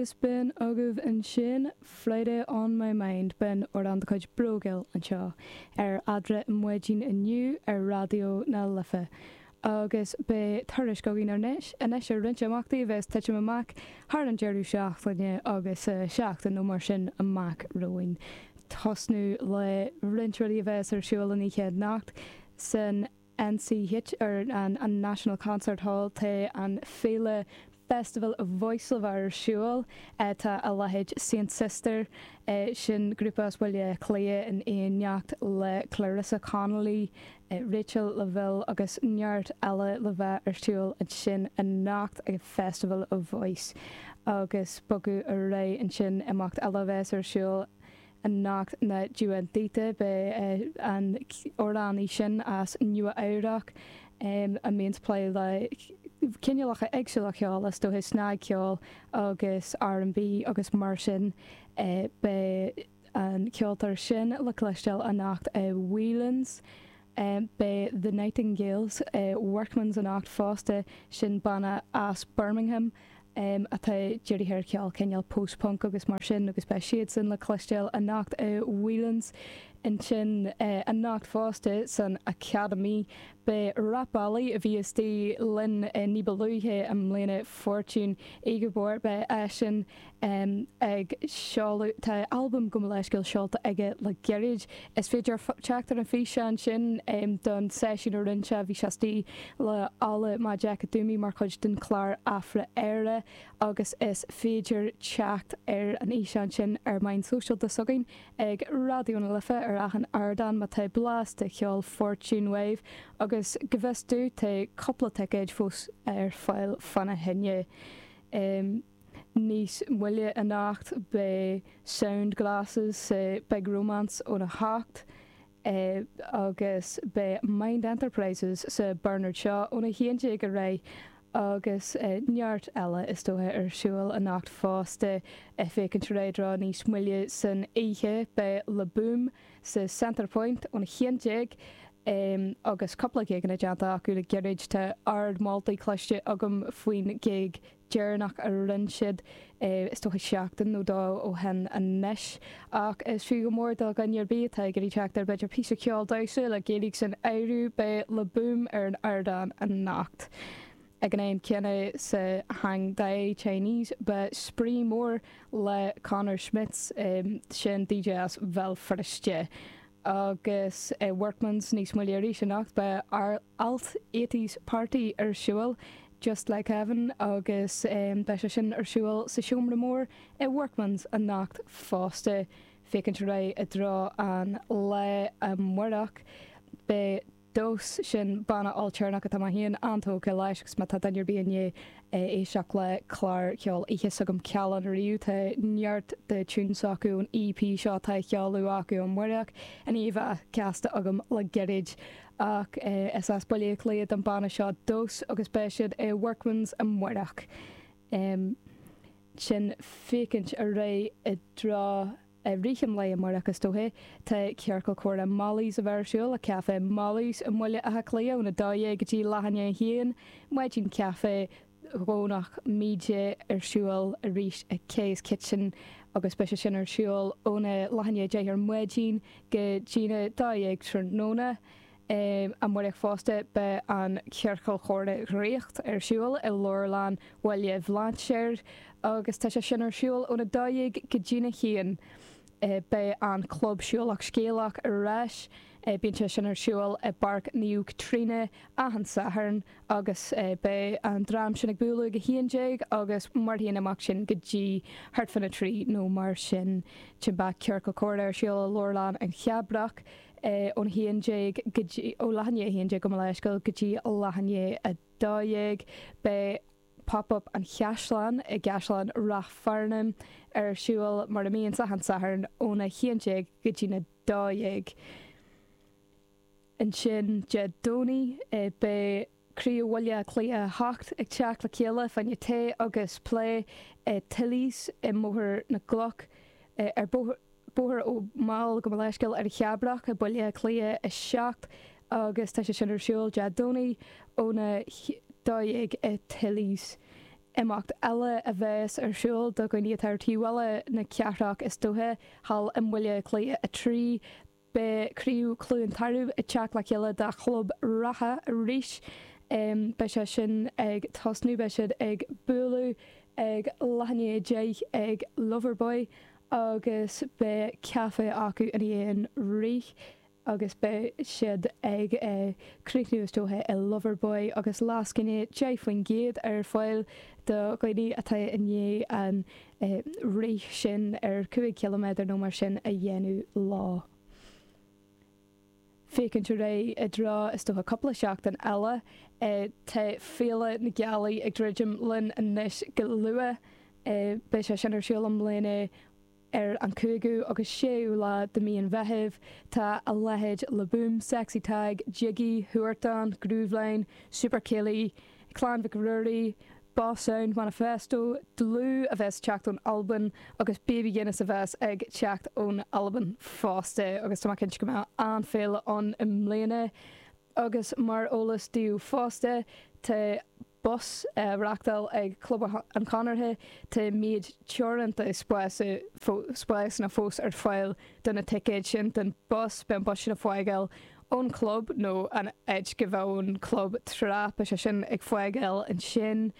Agus b'in agaibh ansin Friday on my mind, b'in amhrán de chuid Brógill anseo ar Eadra i Maidin inniu ar Raidió na Life. Agus beidh tuairisc againn anois anois ar roinnt imeachtaí a bheas ag titim amach thar an deireadh seachtaine agus seachtain nó mar sin amach romhainn. Tosnú le roinnt rudaí a bheas ar siúl an oíche anocht san NCH ar an National Concert Hall tá an féile Festival of Voice le bheith ar siúl. Tá a leithéid Saint Sister, sin grúpa as Baile Átha Cliath in éineacht le Clarissa Connolly, Rachel Lavelle agus neart eile le bheith ar siúl ansin anocht ag Festival of Voice. Agus bogadh ar aghaidh ansin imeacht eile a bheas ar siúl anocht ná Dua Dita, beidh an amhránaí sin as Nua Eabhrac a mbíonns ag plé le cineálacha éagsúla ceoil, is dóiche snagcheol agus R&B agus mar sin. Beidh an ceoltóir sin le cloisteáil anocht i Whelan's. Beidh The Nightingales i Workman's anocht fosta, sin banna as Birmingham atá dírithe ar cheol cineál post-punk agus mar sin agus beidh siadsan le cloisteáil anocht i Whelan's. Ansin anocht fosta san Academy beidh rapálaí a bhí istigh linn ní ba luaithe i mbliana, Fortune Igiebor, beidh eisean ag seoladh, tá albam gabh mo leithscéal seolta aige le gairid. Is féidir teacht ar an físeán sin don seisiún a rinne sé, bhí sé istigh le Ola Majekodunmi mar chuid den chlár Afra-Éire agus is féidir teacht ar an fhíseán sin ar meáin sóisialta s'againn ag Raidió na Life ar achan ardán má tá blas de cheol Fortune uaibh agus go bhfios domh tá cúpla ticéid fós ar fáil fána choinne. Níos moille anocht beidh Sound Glasses sa Big Romance óna hocht agus beidh Mind Enterprises sa Bernard Shaw óna 11 ar aghaidh agus neart eile is dócha ar siúl anocht fosta. Ag féachaint ar aghaidh i dtreo níos moille san oíche beidh Le Boom sa Centre Point óna 11 agus cúpla gigeanna déanta acu le gairid. Tá ard-mholtaí cloiste agam faoin ghig deireanach a rinne siad, is dócha seachtain nó dó ó shin anois. Ach is fiú go mór do dhuine ar bith atá ag iarraidh teacht ar b'fhéidir píosa ceoil damhsa le Gaeilge san áireamh, beidh Le Boom ar an ardán anocht. Ag an am céanna sa Hang Dai Chinese beidh Spraoi Mór le Conor Schmitz, sin DJ as Bhéal Feirste. Agus i Workman's níos moille arís anocht beidh Alt Eighties Party ar siúl, Just Like Heaven, agus beidh sé sin ar siúl sa Seomra Mór i Workman's anocht fosta. Féachaint ar aghaidh i dtreo an lae amárach, beidh Dós, sin banna ailtéarnach atá mé féin an-tógtha leis agus má tá duine ar bith i ndiaidh éisteacht le clár ceoil oíche s'agam Cealán ariamh, tá neart de tunes s'acu ón EP seo atá á sheoladh acu amárach i ndiaidh a bheith casta agam le gairid. Ach is as Baile Átha Cliath don banna seo Dós agus beidh siad i Workman's amárach. Sin féachaint ar aghaidh i dtreo i rith an lae amárach is dóiche. Tá Ciorcal Comhrá Molly's a bheith ar siúl i Café Molly's i mBaile Átha Cliath óna 12 go dtí leath i ndiaidh a haon. Maidin Caife Dhomhnach Míde ar siúl arís i Kay's Kitchen agus beidh sé sin ar siúl óna leath i ndiaidh 10 ar maidin go dtína 12 tráthnóna. Amárach fosta beidh an Ciorcal Chomhrá Dhraíocht ar siúl i Leabharlann Bhaile Bhlainséir agus tá sé sin ar siúl óna 12 go dtína haon. Beidh an Club Siúlach Scéalach ar ais. Bíonn sé sin ar siúl i bPáirc Naomh Caitríona achan Satharn agus beidh an dream sin ag bualadh ag 11 agus mairfidh an imeacht sin go dtí thart fána 3 nó mar sin. Beidh Ciorcal Comhrá ar siúl i Leabharlann an Chabrach. ón 11 go dtí, ó leath i ndiaidh 11 gabh mo leithscéal go dtí leath i ndiaidh 12. Beidh Pop Up an Chaisleáin i gCaisleán Ráth Fearnáin ar siúl mar a mbíonns achan Satharn óna 11 go dtína 12. Ansin Dé Domhnaigh beidh Craobh Bhaile Átha Cliath 8 ag teacht le chéile fá choinne tae agus plé i Tilly's i mBóthar na gCloch ar Bóthar Ó Máille gabh mo leithscéal ar an Chabrach i Baile Átha Cliath 7 agus tá sé sin ar siúl Dé Domhnaigh óna 12 i Tilly's. Imeacht eile a bheas ar siúl do dhaoine atá ar taobh eile na cathrach is dóiche, thall i mBaile Átha Cliath 3, beidh Craobh Chluain Tarbh ag teacht le chéile dá chlub reatha arís. Beidh sé sin ag tosnú, beidh siad ag bualadh ag leath i ndiaidh 10 ag Loverboy agus beidh caife acu i ndiaidh an rith. agus beidh siad ag críochnú is dóiche i Loverboy agus lascaine 10% ar fáil do dhaoine atá i ndiaidh an rith sin ar 5 chiliméadar nó mar sin a dhéanamh leo. Féachaint ar aghaidh i dtreo is dócha cúpla seachtain eile, tá Féile na Gealaí ag druidim linn anois go luath. Beidh sé sin ar siúl i mbliana. Ar an 5ú agus 6ú lá de mí an Mheithimh, tá a leithéid Le Boom, Sexy Tadhg, Jiggy, Huartan, Grooveline, Super Céilí, Clann Mhic Ruairí, Boss Sound Manifesto, Dlúth a bheas ag teacht ón Albain agus Baby Guinness a bheas ag teacht ón Albain fosta agus tá mé cinnte go mbeidh an-fhéile ann i mbliana. Agus mar eolas daoibh fosta, tá bus á reachtáil ag Club an Chonartha. Tá méid teoranta spásanna fós ar fáil do na ticéid sin don bus. Beidh an bus sin ag fágáil ón chlub nó an áit go bheadh an club tráth. Beidh sé sin ag fágáil ansin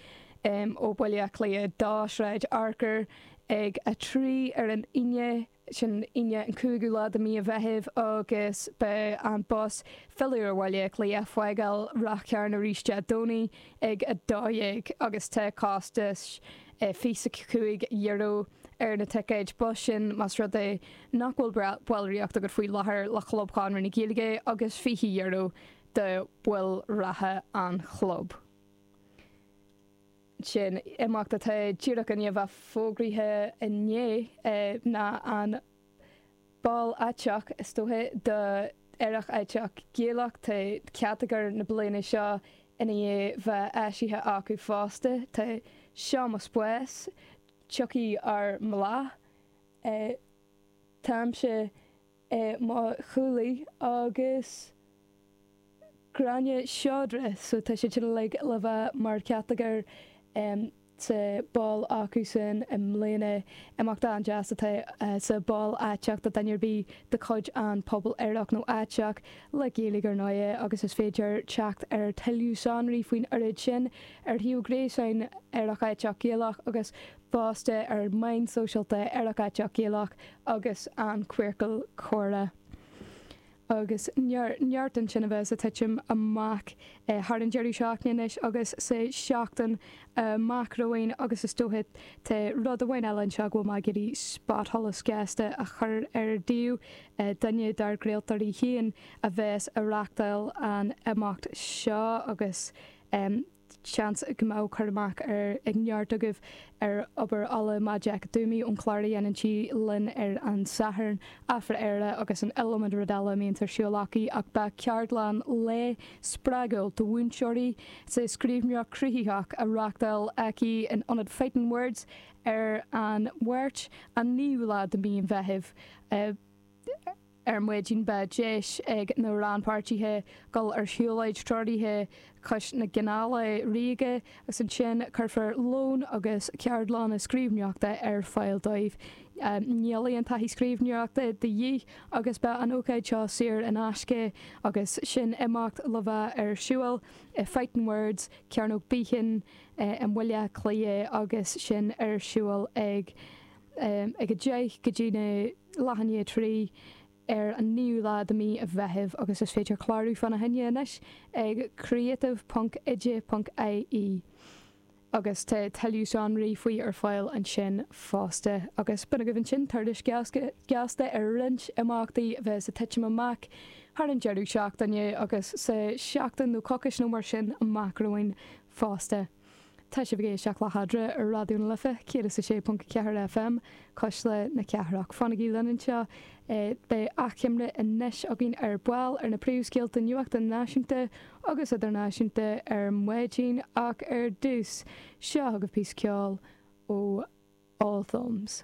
ó Bhaile Átha Cliath 2, Sráid Fhearchair ag 3 ar an Aoine. Sin Aoine an 5ú lá de mí an Mheithimh agus beidh an bus filleadh ar Bhaile Átha Cliath fágáil Ráth Chairn arís Dé Domhnaigh ag 12 agus tá costas €25 ar na ticéid bus sin más rud é nach bhfuil ballraíocht agat faoi láthair le Chlub Chonradh na Gaeilge agus €20 do bhaill reatha an chlub. Sin imeacht atá díreach i ndiaidh a bheith fógraithe inné ná an bál aiteach, is dóiche, do Aerach Aiteach Gaelach. Tá catagóir na bliana seo i ndiaidh bheith eisithe acu fosta. Tá Seo Mo Spás, Tiocfaidh Ár mBláth, Táimse i mo Chodladh agus Gráinne Seodra so tá siad sin uilig le bheith mar chatagóir sa bál acusan i mbliana. Imeacht an-deas atá sa bál aiteach do duine ar bith de chuid an pobal aerach nó aiteach le Gaeilge ar ndóighe agus is féidir teacht ar tuilleadh sonraí faoin oiread sin ar shuíomh gréasáin Aerach Aiteach Gaelach agus fosta ar meáin sóisialta Aerach Aiteach Gaelach agus an Queercal Comhrá. Agus neart ansin a bheas ag titim amach thar an deireadh seachtaine anois agus sa seachtain amach romhainn agus is dóiche tá rud amháin eile anseo go bhfuil mé ag iarraidh spotsholas gasta a chur air daoibh, duine dár gcraoltóirí féin a bheas ag reachtáil an imeacht seo agus Seans go mbeadh cur amach ag neart agaibh ar obair Ola Majekodunmi ón chlár a dhéanann sí linn ar an Satharn, Afra-Éire agus an iliomad rud eile a mbíonns ar siúl aici ach beidh ceardlann lae spreagúil do mhúinteoirí sa scríbhneoireacht chruthaitheach á reáchtáil aici in Ionad Fighting Words ar an Mháirt an 9ú lá de mhí an Mheithimh. Ar maidin beidh deis ag na rannpháirtithe dul ar shiúlóid treoraithe cois na gCanála Ríoga agus ansin cuirfear lón agus ceardlanna scríbhneoireachta ar fáil dóibh. Níl aon taithí scríbhneoireachta de dhíth agus beidh an ócáid seo saor in aisce agus sin imeacht le bheith ar siúl i Fighting Words, Cearnóg Behan i mBaile Átha Cliath agus sin ar siúl ag ag 10 go dtí na leath i ndiaidh 3 ar an 9ú lá de mí an Mheithimh agus is féidir clárú fána choinne anois ag creative ponc oide ponc ie agus tá tuilleadh sonraí faoi ar fáil ansin fosta. Agus b'in agaibh ansin tuairisc gheasta ar roinnt imeachtaí a bheas ag titim amach thar an deireadh seachtaine agus sa seachtain nó coicís nó mar sin amach romhainn fosta. Tá sibh ag éisteacht le hEadra ar Raidió na Life 106.4 FM, Cuisle na Cathrach. Fanaigí linn anseo, beidh achoimre anois againn ar ball ar na príomhscéalta nuachta náisiúnta agus idirnáisiúnta ar maidin ach ar dtús, seo chugaibh píosa ceoil ó All Thumbs.